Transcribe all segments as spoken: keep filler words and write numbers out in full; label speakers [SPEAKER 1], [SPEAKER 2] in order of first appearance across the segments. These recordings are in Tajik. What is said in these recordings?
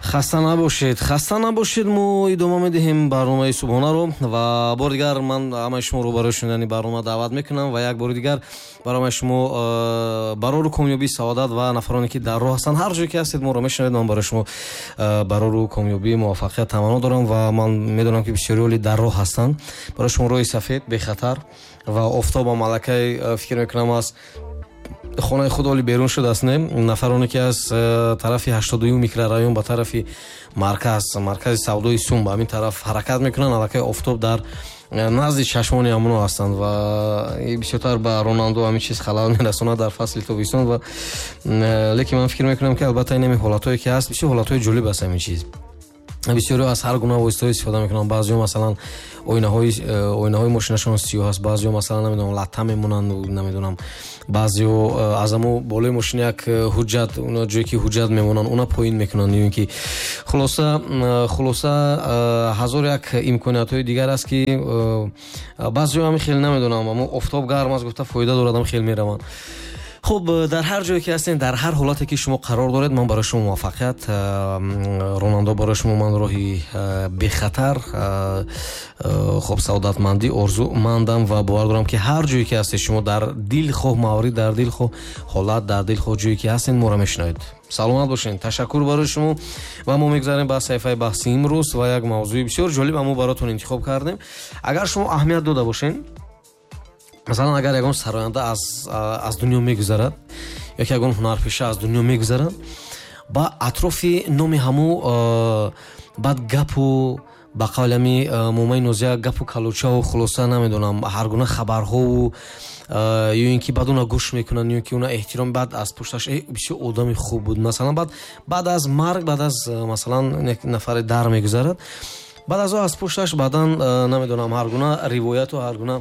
[SPEAKER 1] Хаста набошед, хаста набошед. Мо идома медиҳем барномаи субҳонаро ва бори дигар ман ҳамаи шуморо барои шунидани барнома даъват мекунам ва як бори дигар барои ҳамаи шумо барору комёбӣ, саодат ва нафароне ки дар роҳ ҳастанд, ҳар ҷое ки ҳастед, моро мешунавед, ман барои шумо барору комёбӣ, муваффақият таманно дорам ва ман медонам, ки бисёриҳо дар роҳ ҳастанд. Барои шумо роҳи сафед, бехатар ва офтобам аллакай, фикр мекунам, аз хонаи худ оли берун шудааст. Не, нафароне ки аз э, тарафи ҳаштоду дуюм микрорайон ба тарафи марказ, маркази савдои Сум, ба ҳамин тараф ҳаракат мекунанд, аллакай офтоб дар э, назди чашмони ҳамоно ҳастанд ва бисёртар ба ронандао ҳамин чиз халал мерасонад дар фасли тобистон. Ва э, лекин ман фикр мекунам, ки албатта ин ҳамин ҳолатҳое ки ҳаст, бисёр ҳолатҳои ҷолиб аст. Ҳамин чиз, бисёриҳо аз ҳар гуна воситаҳо истифода мекунанд. Баъзеҳо, масалан, оинаҳои оинаҳои мошинашон сиёҳ аст, баъзеҳо, масалан, намедонам, латта мемонанд, намедонам, баъзеҳо э, аз амо болои мошин як э, ҳуҷҷат, ҷое ки ҳуҷҷат мемонанд, уна поин мекунанд ё ин ки хулоса хулоса ҳазор як имкониятҳои дигар аст, ки баъзеҳо ҳамин хел, намедонам, амо офтоб гарм аст гуфта, фоида дорад, ам хел мераванд. Хуб, дар ҳар ҷое ки ҳастед, дар ҳар ҳолате ки шумо қарор доред, ман барои шумо муваффақият, ронандо, барои шумо ман роҳи бехатар, хуб, саодатмандӣ орзумандам ва бовар дорам, ки ҳар ҷое ки ҳастед шумо, дар дилхоҳ маврид, дар дилхоҳ ҳолат, дар дилхоҳ ҷое ки ҳастед, моро мешунавед. Саломат бошед, ташаккур барои шумо. Ва мо мегузарем ба саҳифаи баҳси имрӯз ва як мавзӯи бисёр ҷолиб мо баротон интихоб кардем. Агар шумо аҳамият дода бошед, масалан, агар ягон сароянда аз аз дунё мегузарад ё ки ягон ҳунарпеша аз дунё мегузарад, ба атрофи номи ҳаму баъд гапу, ба қавли ҳами момаи Нозия, гапу калучаву, хулоса, намедонам, ҳар гуна хабарҳову ё ин ки баъд уна гӯш мекунанд ё ки уна эҳтиром, баъд аз пушташ бисёр одами хуб буд, масалан. Баъд баъд аз марг, баъд аз, масалан, як нафаре дар мегузарад, баъд аз о аз пушташ баъдан, намедонам, ҳар гуна ривояту ҳар гуна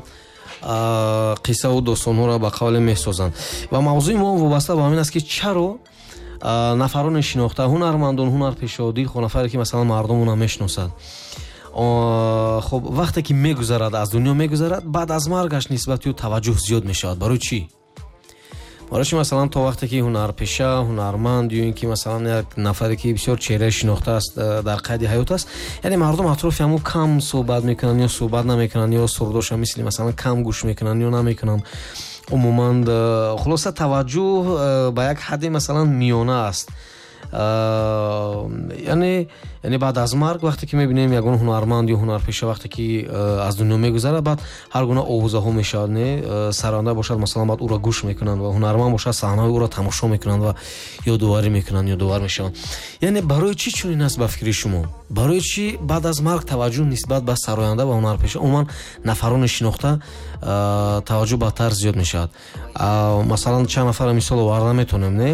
[SPEAKER 1] қиссаву достонҳоро, ба қавле, месозанд. Ва мавзӯи мо вобаста ба ҳамин аст, ки чаро нафароне шинохта, ҳунармандон, ҳунарпешао, дилхоҳ нафаре ки, масалан, мардум уна мешиносад, хуб, вақте ки мегузарад, аз дунё мегузарад, баъд аз маргаш нисбати ӯ таваҷҷӯҳ зиёд мешавад. Барои чӣ? Барои чӣ, масалан, то вақте ки ҳунарпеша, ҳунарманд ё ин ки, масалан, як нафаре ки бисёр чеҳраи шинохта аст, э, дар қайди ҳаёт аст, яъне мардум атрофи ҳамун кам суҳбат мекунанд ё суҳбат намекунанд ё сурудоша мисли, масалан, кам гӯш мекунанд ё намекунанд умуман. э, хулоса, таваҷҷӯҳ э, ба як ҳадди, масалан, миёна аст. яъне яъне баъд аз марг, вақте ки мебинем ягон ҳунарманд ё ҳунарпеша вақте ки аз дунё мегузарад, баъд ҳар гуна овозаҳо мешавад. Не, саранда бошад, масалан, баъд ӯро гӯш мекунанд ва ҳунарманд бошад, саҳнаҳои ӯро тамошо мекунанд ва ёдоварӣ мекунанд, ёдовар мешаванд. Яъне барои чӣ чунин аст, ба фикри шумо? Барои чӣ баъд аз марг таваҷҷӯҳ нисбат ба сароянда ва ҳунарпеша, умуман нафарони шинохта, таваҷҷӯҳ бадтар зиёд мешавад? Масалан, чанд нафара мисол оварда метавонем, не?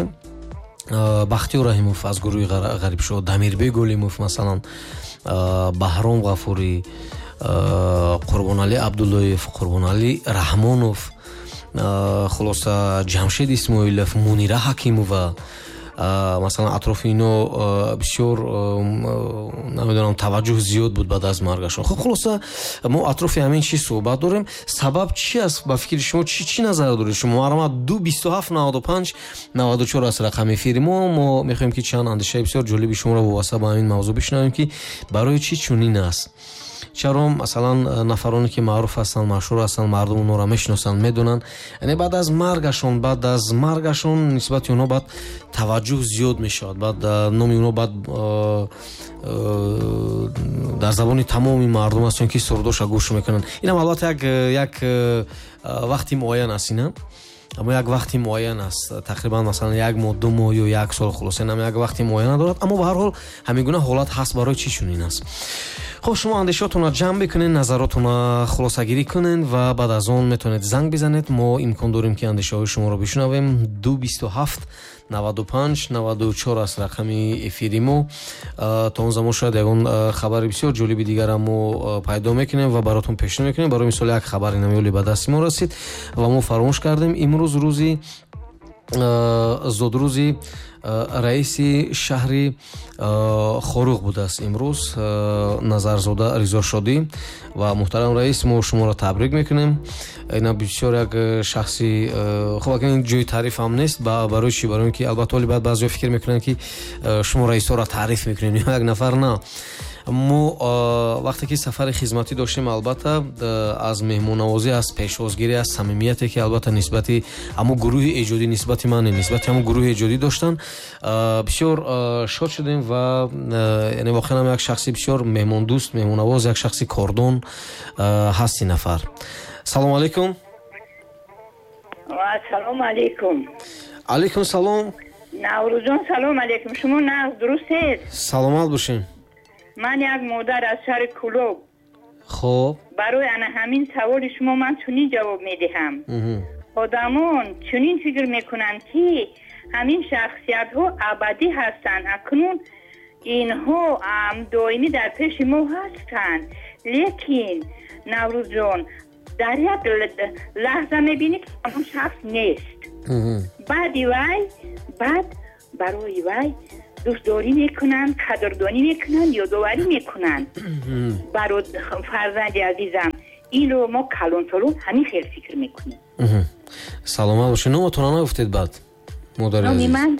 [SPEAKER 1] Бахтиёр Раҳимов аз гурӯҳи Ғарибшо, Дамирбек Олимов, масалан, Баҳром Ғафурӣ, Қурбоналӣ Абдуллоев, Қурбоналӣ Раҳмонов, хулоса, Ҷамшед Исмоилов, Мунира Ҳакимова, масалан, атрофи ино бисёр, намедонам, таваҷҷӯҳ зиёд буд баъд аз маргашон. Хуб, хулоса, мо атрофи ҳамин чиз суҳбат дорем. Сабаб чи аст, ба фикри шумо? Чӣ чӣ назар доред шумо? Марҳамат, ду бисту ҳафт наваду панҷ наваду чор аст рақами эфири мо. Мо мехоҳем, ки чанд андешаи бисёр ҷолиби шуморо вобаста ба ҳамин мавзӯъ бишунавем, ки барои чӣ чунин аст, чаро, масалан, нафароне ки маъруф ҳастанд, машҳур ҳастанд, мардум онҳоро мешиносанд, медонанд, яъне баъд аз маргашон баъд аз маргашон нисбати онҳо баъд таваҷҷӯҳ зиёд мешавад, баъд номи онҳо баъд дар забони тамоми мардум аст, ки сурудоша гӯш мекунанд. Инам албатта як як вақти муайян аст, ина аммо як вақти муайян аст, тақрибан, масалан, як моҳ, ду моҳ ё як сол. Хулоса, инам як вақти муайяна дорад, аммо ба ҳар ҳол ҳамин гуна ҳолат ҳаст. Барои чӣ чунин аст? Хуб, шумо андешаотонро ҷамъ бикунед, назаротонро хулосагирӣ кунед ва баъд аз он метавонед занг бизанед. Мо имкон дорем, ки андешаҳои шуморо бишунавем. Ду бисту ҳафт наваду панҷ наваду чор аст рақами эфири мо. То он замон шояд ягон хабари бисёр ҷолиби дигарам мо пайдо мекунем ва баротон пешниҳод мекунем. Барои мисол, як хабари намиёли ба дасти мо расид ва мо фаромӯш кардем. Имрӯз рӯзи зодрӯзи раиси шаҳри Хоруғ будааст имрӯз, Назарзода Ризошодӣ. Ва муҳтарам раис, мо шуморо табрик мекунем. Ина бисёр як шахси хуб, акн ин ҷои таъриф ҳам нест. Барои чӣ? Барои ин ки албатта ҳоли баъд баъзеҳо фикр мекунанд, ки шумо раисҳоро таъриф мекунед, як нафар на. Мо вақте ки сафари хизматӣ доштем, албатта аз меҳмоннавозӣ, аз пешвозгирӣ, аз самимияте ки албатта нисбати ҳамун гурӯҳи эҷодӣ, нисбати ман, нисбати ҳамун гурӯҳи эҷодӣ доштанд, бисёр шод шудем. Ва яъне воқеан ҳам як шахси бисёр меҳмондӯст, меҳмоннавоз, як шахси кордон ҳаст ин нафар. Салому алайкум.
[SPEAKER 2] Салому алайкум.
[SPEAKER 1] Алайкум салом.
[SPEAKER 2] Наврӯзҷон, салом алайкум. Шумо нағз дурустед?
[SPEAKER 1] Саломат бошед.
[SPEAKER 2] Ман як модар аз шаҳри Кӯлоб.
[SPEAKER 1] Хуб,
[SPEAKER 2] барои ана ҳамин саволи шумо ман чунин ҷавоб медиҳам. Одамон чунин фикр мекунанд, ки ҳамин шахсиятҳо абадӣ ҳастанд, акнун инҳо доимӣ дар пеши мо ҳастанд. Лекин Наврӯзҷон, дар як лаҳза мебинӣ, ки он шахс нест. Баъди вай, баъд барои вай дӯстдорӣ мекунанд, қадрдонӣ мекунанд, ёдоварӣ мекунанд. Барои фарзанди азизам, инро мо калонсолон ҳамин хел фикр мекунем.
[SPEAKER 1] Саломат бошед. Номатонро нагуфтед баъд, модари азиз?
[SPEAKER 2] Номи ман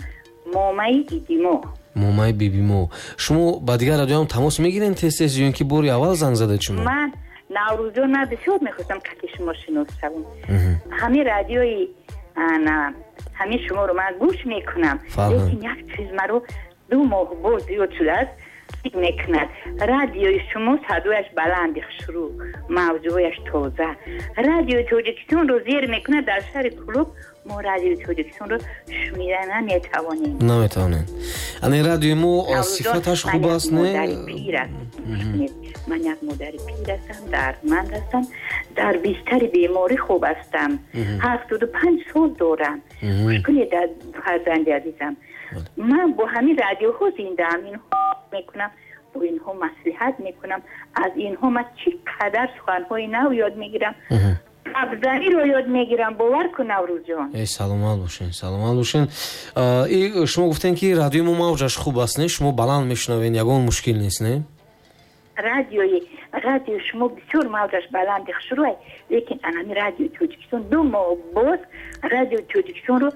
[SPEAKER 2] Момаи Бибимо.
[SPEAKER 1] Момаи Бибимо. Шумо ба дигар радиоам тамос мегиред тез тез ё ин ки бори аввал занг задед шумо?
[SPEAKER 2] Ман Наврӯзҷон, ман бисёр мехостам қати шумо шинос шавам. Ҳамин радиои ана ҳамин шуморо ман гӯш мекунам, лекин як чиз маро ду моҳ боз зиёд шудааст фикр мекунад. Радиои шумо садояш баланди хушрӯ, мавзӯяш тоза. Радиои Тоҷикистонро зер мекунад. Дар шаҳри Кӯлоб мо радиои Тоҷикистонро шунида наметавонем.
[SPEAKER 1] Наметавонем. Ани радиои мо сифаташ хуб аст, не?
[SPEAKER 2] Модари пир ҳастам. Ман як модари пир ҳастам, дардманд ҳастам, дар бистари беморӣ хуб ҳастам. ҳафтоду панҷ сол дорам. Гӯш кунед, фарзанди азизам, ман бо ҳамин радиоҳо зиндаам. Инҳо мекунам, бо инҳо маслиҳат мекунам. Аз инҳо ман чӣ қадар суханҳои нав ёд мегирам, абзаниро ёд мегирам. Бовар кун, Наврӯзҷон.
[SPEAKER 1] Эй, саломат бошед, саломат бошед. И шумо гуфтед, ки радиои мо мавҷаш хуб аст, не? Шумо баланд мешунавед, ягон мушкил нест, не?
[SPEAKER 2] Радиои радиои шумо бисёр мавҷаш баланди хушрӯй, лекин анами радиои Тоҷикистон ду моҳ боз радиои Тоҷикистонро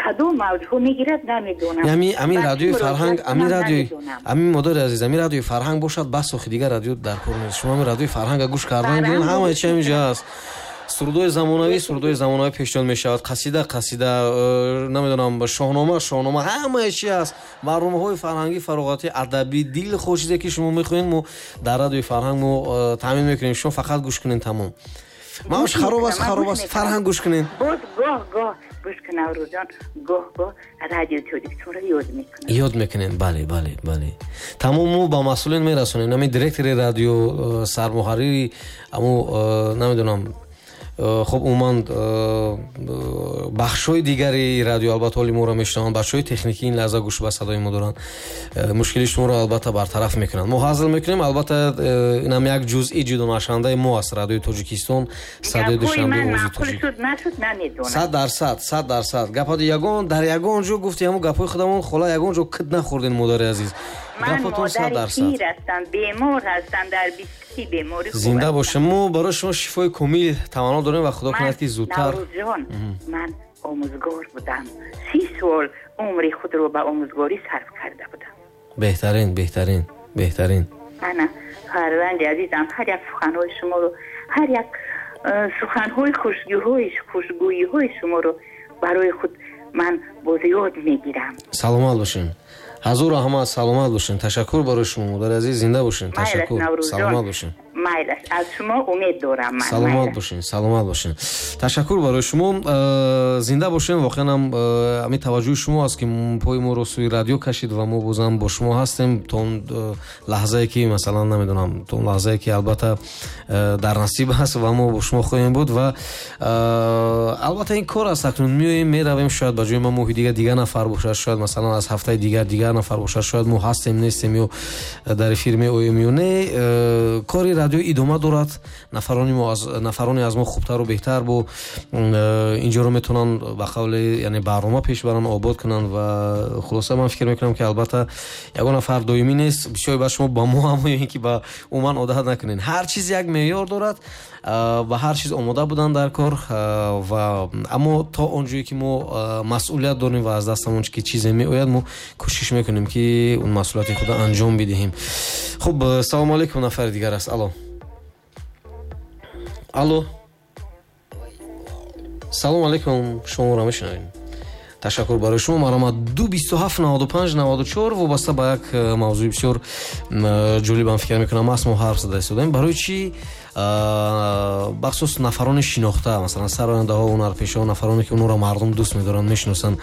[SPEAKER 2] кадом мавҷҳо мегирад, намедонам.
[SPEAKER 1] Ами ами радиои Фарҳанг, ами радиои, ами модари азиз, ами радиои Фарҳанг бошад, бас, охи дигар радио дар кор нест. Шумо ами радиои Фарҳанга гӯш кардан гирен, ҳамаи чи ҳаминҷа аст. Сурудои замонавӣ, сурудои замонавӣ пешниҳод мешавад, қасида, қасида, намедонам, шоҳнома, шоҳнома, ҳамаи чи аст. Барномаҳои фарҳангӣ, фароғатӣ, адабӣ, дилхоҳ чизе ки шумо мехоҳед, мо дар радиои Фарҳанг мо таъмин мекунем. Шумо фақат гӯш кунед, тамом. Мавҷ хароб аст, хароб аст, Фарҳанг гӯш кунед.
[SPEAKER 2] Боз гоҳ гоҳ гӯш кун, Наврӯзҷон, гоҳ гоҳ радиои Тоҷикистонро ёд мекунем.
[SPEAKER 1] Ёд мекунем, бале, бале, бале. Тамом, мо ба масъулин мерасонем. Ҳамин директори радио, сармуҳаррири ҳамун, намедонам, хуб, умуман бахшҳои дигари радио албатта ҳоли моро мешунаванд, бахшҳои техникӣ ин лаҳза гӯш ба садои мо доранд, мушкили шуморо албатта бартараф мекунанд. Мо ҳазл мекунем, албатта инам як ҷузъи ҷудонашавандаи мо аст, радиои Тоҷикистон, садои Душанбе, овози тоҷик. Сад дарсад, сад дарсад. Гапҳои ягон дар ягон ҷо гуфти ҳамун гапҳои худамон, хола, ягон ҷо кит нахӯрдем, модари азиз.
[SPEAKER 2] Ман модари пир ҳастам, бемор ҳастам, дар бистари беморӣ хуб.
[SPEAKER 1] Зинда бошем. Мо барои шумо шифои комил таманно дорем ва худо кунад, ки зудтар.
[SPEAKER 2] Наврӯзҷон, ман омӯзгор будам. Си сол умри худро ба омӯзгорӣ сарф карда будам.
[SPEAKER 1] Беҳтарин, беҳтарин, беҳтарин.
[SPEAKER 2] Ана фарзанди азизам, ҳар як суханҳои шуморо, ҳар як суханҳои хушгӯйиҳои хушгӯйиҳои шуморо барои худ ман боз ёд мегирам.
[SPEAKER 1] Саломат бошед. Ҳазур раҳмат, саломат бошед. Ташаккур барои шумо, модари азиз, зинда бошед. Ташаккур, саломат бошед.
[SPEAKER 2] Майлаш, аз шумо умед дорам ман.
[SPEAKER 1] Саломат бошед, саломат бошед. Ташаккур барои шумо, зинда бошед. Воқеан ҳам ҳамин таваҷҷӯҳи шумо аст, ки пои моро сӯи радио кашид ва мо бозам бо шумо ҳастем то он лаҳзае ки, масалан, намедонам, то он лаҳзае ки албатта дар насиб аст ва мо бо шумо хоҳем буд. Ва албатта ин кор аст, акнун меоем, меравем, шояд ба ҷои мо моҳи дигар дигар нафар бошад, шояд масалан аз ҳафтаи дигар дигар нафар бошад, шояд мо ҳастем, нестем ё дар эфир меоем ё не. Кори Радио идома дорад, нафарони мо аз нафароне аз мо хубтару беҳтар бо инҷоро метавонанд ба қавли, яъне барнома пеш баранд, обод кунанд. Ва хулоса, ман фикр мекунам, ки албатта ягон нафар доимӣ нест. Бисёре ба шумо, ба мо ҳам, ё ин ки ба умуман одат накунед. Ҳар чиз як меъёр дорад, ба ҳар чиз омода будан дар кор. Ва аммо то он ҷое ки мо масъулият дорем ва аз дастамон ки чизе меояд, мо кӯшиш мекунем, ки он масъулияти худро анҷом бидиҳем. Хуб, салому алейкум, нафари дигар аст. Алло, алло, салому алейкум, шуморо мешунавем. Ташаккур барои шумо. Марҳамат, ду бисту ҳафт наваду панҷ наваду чор. Вобаста ба як э, мавзӯи бисёр ҷолибам, фикр мекунам, аст, мо ҳарф зада истодаем. Барои чӣ бахусус нафарони шинохта, масалан сарояндаҳо, ҳунарпешаҳо, нафароне ки онҳоро мардум дӯст медоранд, мешиносанд,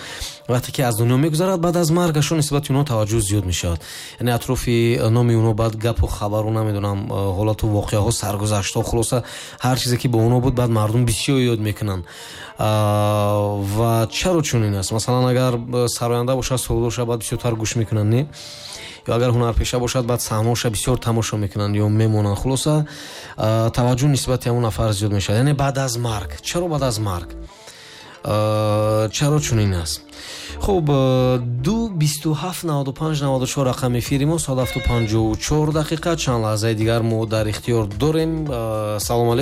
[SPEAKER 1] вақте ки аз дунё мегузарад, баъд аз маргашон нисбати онҳо таваҷҷӯҳ зиёд мешавад? Яъне атрофи номи онҳо баъд гапу хабару, намедонам, ҳолату воқеаҳо, саргузаштҳо, хулоса, ҳар чизе ки бо онҳо буд, баъд мардум бисёр ёд мекунанд. Ва чаро чунин аст? Масалан, агар сароянда бошад, сурудоша баъд бисёртар гӯш мекунанд, не? Ё агар ҳунарпеша бошад, баъд саҳнаоша бисёр тамошо мекунанд ё мемонанд. Хулоса, таваҷҷӯҳ нисбати ҳамон нафар зиёд мешавад, яъне баъд аз марг. Чаро баъд аз марг? Чаро чунин аст? Хуб, ду бисту ҳафт наваду панҷ наваду чор рақами эфири мо. Соат ҳафту панҷоҳу чор дақиқа, чанд лаҳзаи дигар мо дар ихтиёр дорем. Салому алейкум.